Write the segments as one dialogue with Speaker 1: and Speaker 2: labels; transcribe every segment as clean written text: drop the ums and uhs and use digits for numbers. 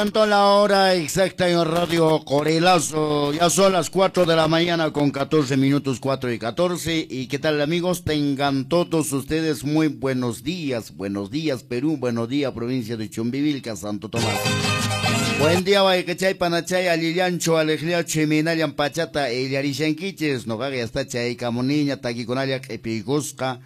Speaker 1: Cantó la hora exacta en Radio Qorilazo. Ya son las 4 de la mañana con 14 minutos, 4:14. ¿Y qué tal, amigos? Tengan todos ustedes muy buenos días. Buenos días, Perú. Buenos días, provincia de Chumbivilca, Santo Tomás. Buen día, Guaycachay, Panachay, Alillancho, Alejliacho, Minallan, Pachata, Illarishanquiches. Nogaga ya está chay, Camuniña, Taquiconalla, Epigusca.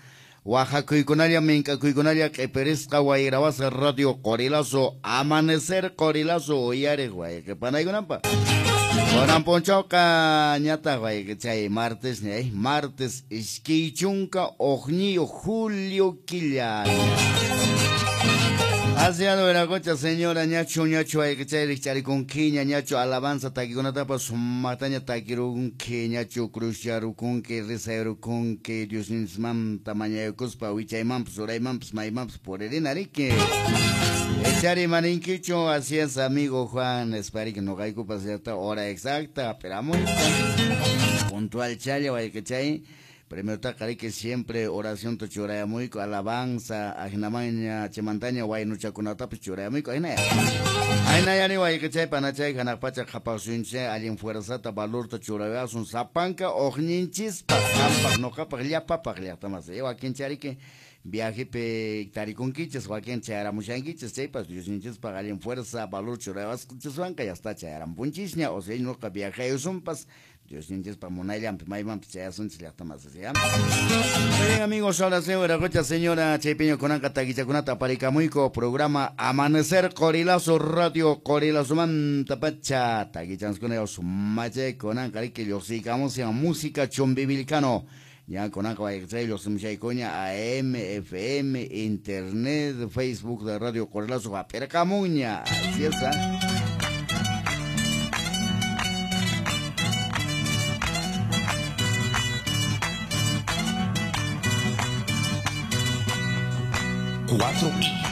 Speaker 1: Oaxacuykunalla, minkakuykunalla, q'ipirisqa wayrawasa Radio Qorilazo, Amanecer Qorilazo, uyariq wayqipanaykunanpaq. Kunan p'unchawqa ñataq wayqichay martes ñay, martes 21 julio killa. Asiano Veracocha, señora, ñachu, ñachu, wayqichay rikcharikunkiña, ñachu, alabanza takikunatapas sumaqtaña takirunki, ñachu, cruzyarukunki, rizayrukunki, Diosninchikmanta mañaykuspa, wichaymanpas, uraymanpas, maymanpas puririna riki. Echari maninkichu, así es, amigo Juan, espero que no caiga cierta hora exacta, pero muy puntual chaya, wayqichay. Primero que siempre oración to churayamuyku, alabanza, ajnamaña, chimantaña, waynuchakunatapas churayamuyku, ajnaya. Ajnayani wayqichay, panachay, hanaq pacha qhapaqsuyunchay, allin fuerzata, valorta churayasun, sapanka, uqninchispaq, qampaq, nuqapaq, llapapaq, llaqtamas. Wakinchariki viajepi tarikunkichis, wakin chayaramushankichis, chaypas Diosninchispaq allin fuerza, valor churayawasqanchiswanqa, ya está chayarampunchisña, o sea, nuqa viajayusunpas, Diosninchispaq munayllanpi maymanpas chayasunchis llaqtamas, ¿sí? Bien, amigos, ahora sí, Veracocha, señora Chaypiño kunanqa takichakunata aparikamuyku, programa Amanecer Qorilazo, Radio Qorilazo manta pacha, takichanskuna sumachay kunanqa riki lluqsiykamusan música chumbivilcano. Ya kunanqa wayqichay lluqsimushaykuña AM, FM, Internet, Facebook de Radio Qorilazo hap'irqamunña. Así es, ¿eh?
Speaker 2: 4 y